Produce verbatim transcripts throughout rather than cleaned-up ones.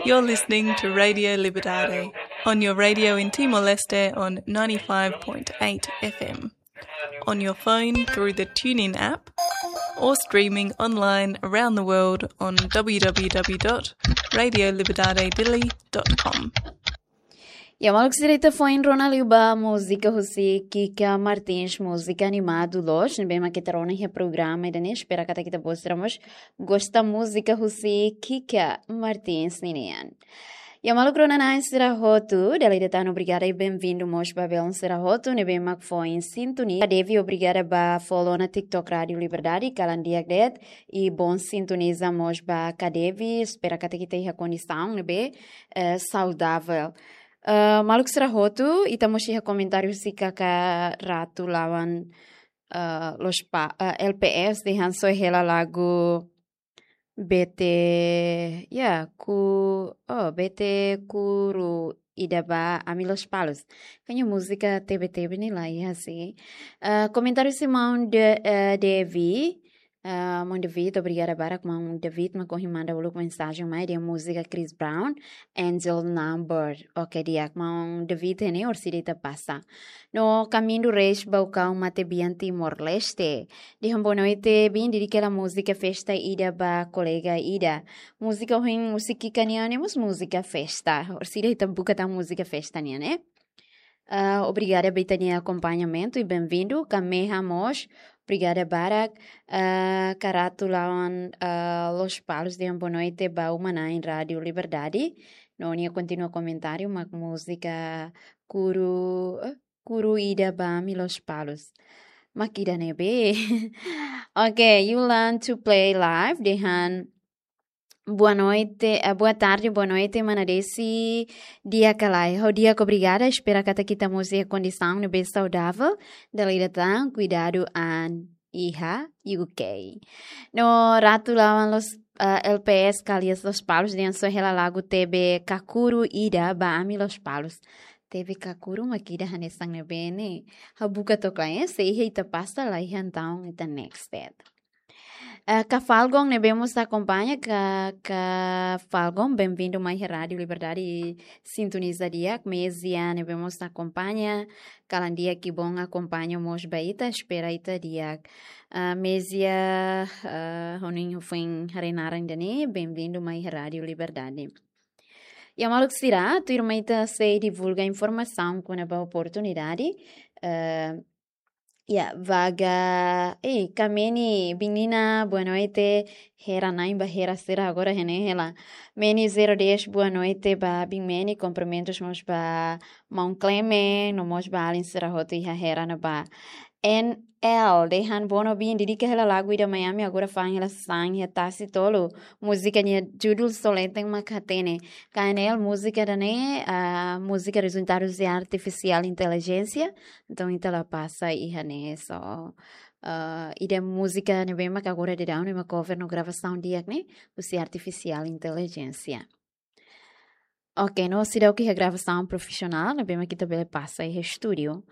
You're listening to Radio Liberdade on your radio in Timor-Leste on ninety-five point eight F M, on your phone through the TuneIn app, or streaming online around the world on w w w dot radio liberdade dili dot com. Ya, maluk sira, ita foin rona liu ba múzika husi Kika Martins, múzika animadu loos, ne'ebé mak ita rona iha programa ida-ne'e, espera katak ita-boot sira mós gosta múzika husi Kika Martins ninian. Ya, maluk rona-na'in sira hotu, dala ida tan obrigada i benvindu mós ba belun sira hotu ne'ebé mak foin sintonia. Devi, obrigada ba follow ona TikTok Rádio Liberdade, kalan di'ak de'it, i bom sintoniza mós ba Kadevi, espera katak ita iha kondisaun ne'ebé, eh, saudavel. Eh, maluk sira hotu, ita mós iha komentáriu husi kaka Ratu Lawan, eh, Los Pa-, eh, L P S dehan soe hela lagu B T, ya, ku, oh, B T Kuru Ida ba Ami Lospalos. Kayaknya múzika T B T B ne'e la iha, sih. Eh, komentáriu husi maun De-, eh, Devi. Eh, maun David, obrigada barak, maun David, mak ohin manda uluk mensajen mai dehan múzika Chris Brown, Angel Number. Oke, di'ak, maun David, ne'e orsida ita pasa. No Kamindo Reis Baucau, Matebian, Timor-Leste. Dehan boa noite, bin, dedika hela múzika festa ida ba kolega ida. Múzika ohin husi Kika nian ne'e mós múzika festa. Orsida ita buka tan múzika festa nian, eh? Ah, obrigada ba ita-nia akompañamentu i benvindu. Kameha mós, obrigada barak. Ah, Karatu Lawan, ah, Lospalos, dehan boa noite ba uma-na'in Rádio Liberdade. No nia kontinua komentáriu, mak múzika Kuru, eh, Kuru Ida ba Ami Lospalos. Mak ida ne'ebé. Oke, you learn to play live, dehan boa noite, eh, boa tarde, boa noite, mana Desi, di'ak ka lae? Ha'u di'ak, obrigada, espera katak ita mós iha kondisaun ne'ebé saudavel, dala ida tan, kuidadu an iha U K. No Ratu Lawan Los, eh, L P S Kalias Lospalos, dehan soe hela lagu T B Kakuru Ida ba Ami Lospalos. T B Kakuru mak ida hanesan ne'ebé ne'e. Ha'u buka took lai, eh, se iha ita pasa, la iha entaun ita next de'it. Eh, Ka Falgon ne'ebé mós akompaña, Ka, Ka Falgon, benvindu mai iha Rádio Liberdade, sintoniza di'ak. Mezia ne'ebé mós akompaña, kalan di'ak, que bom, akompaña mós ba ita, espera ita di'ak. Ah, Mezia, ah, ha'u-nia foin haree naran ida-ne'e, benvindu mai iha Rádio Liberdade. Ya, maluk sira, tuirmai ita sei divulga informasaun kona-ba oportunidade, eh, ya, vaga, eh, Kameni, bin Nina, boa noite, Hera na'in ba Hera sira agora iha ne'e hela. Meni zero dez, boa noite ba bin Meni, kumprimentus mós ba maun Cleme, no mós ba alin sira hotu iha Hera ne'ebá. N L, dehan bono bin, dedika hela lagu ida mai ami, agora fa'an hela sasán iha tasi tolu. Múzika nia judul Soleten mak hatene. Ka N L, múzika ida-ne'e, ah, múzika rezultadus de artifisiál intelijénsia. Entaun, ita la pasa iha ne'e só. Ah, ida múzika ne'ebé mak agora daudaun ne'e mak cover no gravasaun di'ak ne'e, husi artifisiál intelijénsia. Oke, no seidauk iha gravasaun profisionál, ne'ebé mak ita bele pasa iha estúdiu.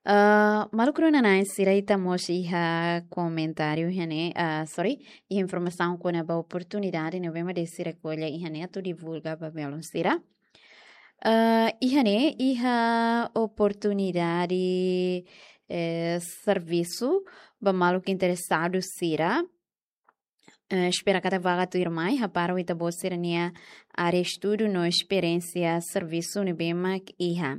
Ah, maluk rona-na'in sira, ita mós iha komentáriu iha ne'e, ah, sorry, iha informasaun kona-ba oportunidade ne'ebé mak Desi rekolla iha ne'e atu divulga ba belun sira. Ah, iha ne'e, iha oportunidade, eh, servisu ba maluk interesadu sira. Eh, espera katak vaga tuirmai, hapara ita-boot sira-nia área estudu no esperiénsia servisu ne'ebé mak iha.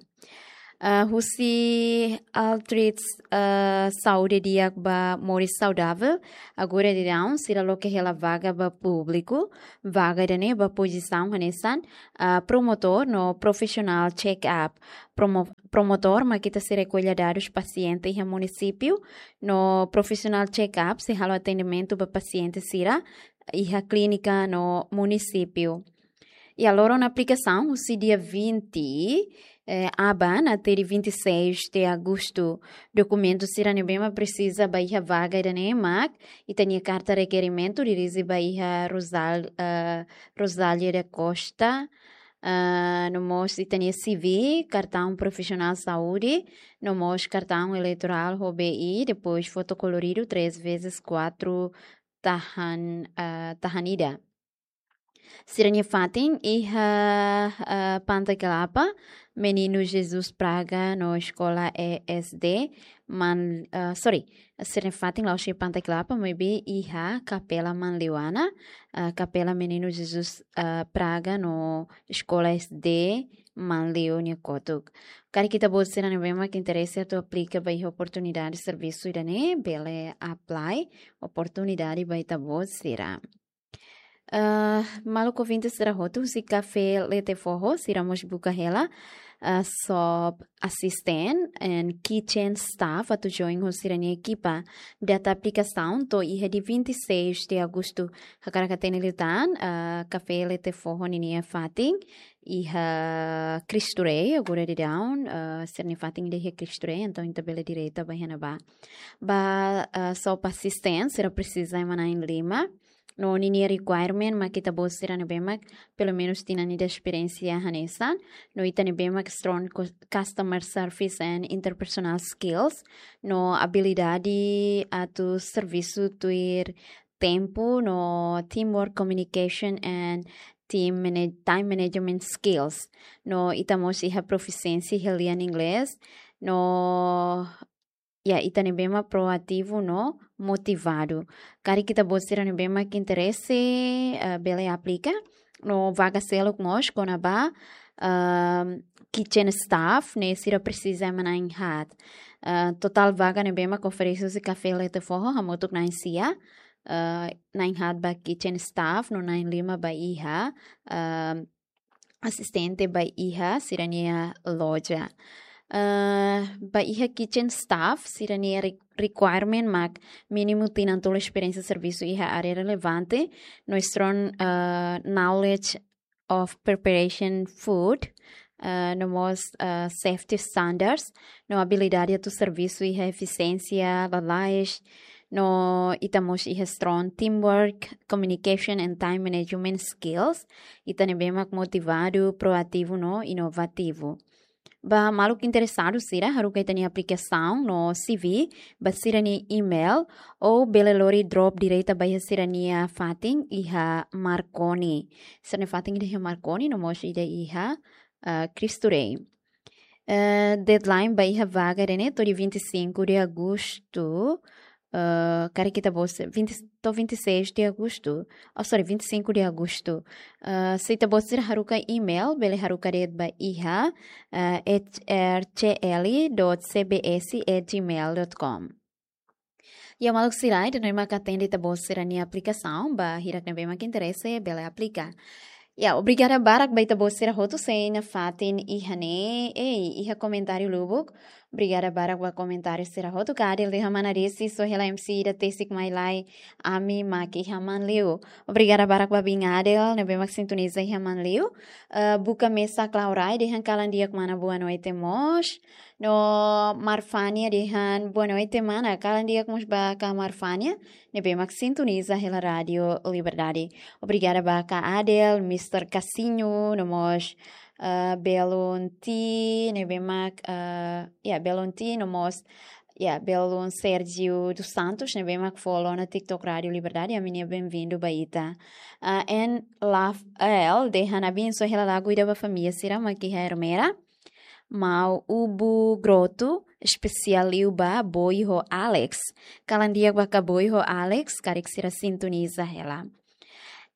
Ah, husi Altrit, ah, Saúde Di'ak ba Moris Saudavel, agora daudaun sira loke hela vaga ba públiku, vaga ida-ne'e ba pozisaun hanesan, ah, promotór no profissional check-up. Promo-, promotór mak ita sei rekolla dadus pasiente iha munisípiu, no profissional check-up sei halo atendimentu ba pasiente sira iha klínika no munisípiu. Ya, loron aplikasaun husi dia vinte, eh, aban até dia vinte e seis de agosto. Dokumentu sira ne'ebé mak presiza ba iha vaga ida-ne'e mak ita-nia karta rekerimentu dirije ba iha Rosal-, eh, Rosália da Costa, ah, no mós ita-nia C V, kartaun profisionál saúde, no mós kartaun eleitorál ho B I, depois foto koloridu três vezes quatro tahan, ah, tahan ida. Sira-nia fatin iha, eh, Panta Kelapa, Menino Jesus Praga no Eskola E S D, Man, eh, sorry, sira-nia fatin la'ós iha Panta Kelapa, maibé iha Kapela Manleuana, eh, Kapela Menino Jesus, eh, Praga no Eskola E S D Manleu nia kotuk. Karik ita-boot sira ne'ebé mak interese atu aplika ba iha oportunidade servisu ida-ne'e, bele apply oportunidade ba ita-boot sira. Eh, maluk ouvinte sira hotu, husi Café Lete Foho, sira mós buka hela, eh, shop assistant and kitchen staff atu join ho sira-nia ekipa. Data aplikasaun to'o iha dia vinte e seis de agosto. Hakarak hatene liután, eh, Café Lete Foho ninia fatin iha Cristo Rei, agora daudaun, eh, sira-nia fatin ida iha Cristo Rei, entaun ita bele direta ba iha ne'ebá. Ba, eh, shop assistant, sira presiza ema na'in lima. No ninia requirement mak ita-boot sira ne'ebé mak pelumenus tinan ida esperiénsia hanesan. No ita ne'ebé mak strong cu-, customer service and interpersonal skills. No abilidade atu servisu tuir tempu, no teamwork, communication and team manage-, time management skills. No ita mós iha profisiénsia iha lian inglés. No, ya, ita ne'ebé mak proativu no motivadu. Karik ita-boot sira ne'ebé mak interese, eh, bele aplika. No vaga seluk mós kona-ba, ehm, kitchen staff, ne'e sira presiza ema na'in haat. Eh, totál vaga ne'ebé mak oferese husi Café Lete Foho, hamutuk na'in sia, eh, na'in haat ba kitchen staff, no na'in lima ba iha, ehm, asistente ba iha sira-nia loja. Eh, ba iha kitchen staff, sira-nia re-, requirement mak mínimu tinan tolu esperiénsia servisu iha área relevante, no strong, eh, knowledge of preparation food, eh, no mós, eh, safety standards, no abilidade atu servisu iha efisiénsia, lalais, no ita mós iha strong teamwork, communication and time management skills, ita ne'ebé mak motivadu, proativu no inovativu. Ba maluk interesadu sira, haruka ita-nia aplikasaun no C V ba sira-nia email, ou bele lori drop direta ba iha sira-nia fatin iha Marconi. Sira-nia fatin ida iha Marconi, no mós ida iha, eh, Cristo Rei. Eh, deadline ba iha vaga ida-ne'e to'o dia vinte e cinco de agosto, eh, karik ita-boot sira, vinte, to'o vinte e seis de agosto. Oh, sorry, vinte e cinco de agosto. Eh, se ita-boot sira haruka email, bele haruka de'it ba iha, eh, H R C L dot C B S at gmail dot com. Ya, maluk sira, ida-ne'e mak hatene ita-boot sira-nia aplikasaun, ba hirak ne'ebé mak interese, bele aplika. Ya, obrigada barak ba ita-boot sira hotu sei nafatin iha ne'e, ei, iha komentáriu lubuk. Obrigada barak ba komentáriu sira hotu. Ka Adel dehan mana Desi, só hela M C ida tesik mai lai, ami mak iha Manleu. Obrigada barak ba Bin Adel, ne'ebé mak sintoniza iha Manleu. Eh, buka mesak Laurai, dehan kalan di'ak mana boa noite mós. No Marfania dehan boa noite mana, kalan di'ak mós ba ka Marfania, ne'ebé mak sintoniza hela Rádio Liberdade. Obrigada ba ka Adel, mister Casinho, no mós, eh, belun T, ne'ebé mak, eh, ya, belun T, no mós, ya, belun Sérgio dos Santos, ne'ebé mak follow ona TikTok Rádio Liberdade, ami-nia benvindu ba ita. Eh, en Laf El, dehan abensoa hela lagu ida ba família sira mak iha Ermera. Mau Ubu Grotu, espesiál liu ba Boi ho Alex. Kalan di'ak ba ka Boi ho Alex, karik sira sintoniza hela.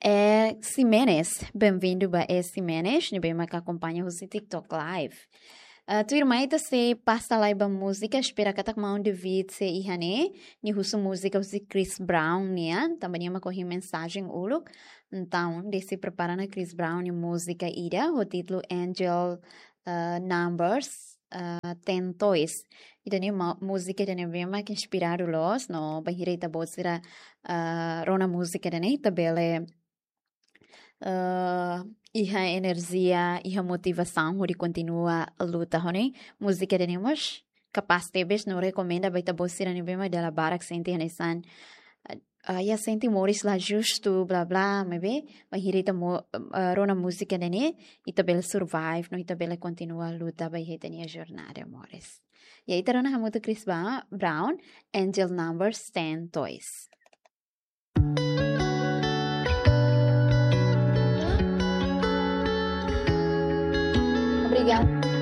Eh, Ximenes, benvindu ba E Ximenes, ne'ebé mak akompaña husi TikTok Live. Eh, tuirmai ita sei pasa lai ba múzika, espera katak maun David sei iha ne'e, nia husu múzika husi Chris Brown nian, tanba nia mak ohin mensajen uluk. Entaun, Desi prepara ona Chris Brown nia múzika ida, ho títulu Angel, eh, Numbers, eh, Ten Toys. Ida-ne'e ma-, múzika ida ne'ebé mak inspiradu loos, no bainhira ita-boot sira, eh, rona múzika ida-ne'e, ita bele, eh, iha enerjia, iha motivasaun, hodi kontinua luta ho ne'e. Múzika ida-ne'e mós kapás tebes, no rekomenda ba ita-boot sira ne'ebé mak dala barak sente hanesan, eh, ah, ya sente moris la justu, bla, bla, maibé, bainhira ita mo-, eh, rona múzika ida-ne'e, ita bele survive, no ita bele kontinua luta ba iha ita-nia jornada moris. Ya, ita rona hamutuk Chris Ba-, Brown, Angel Numbers Ten Toys. Ya.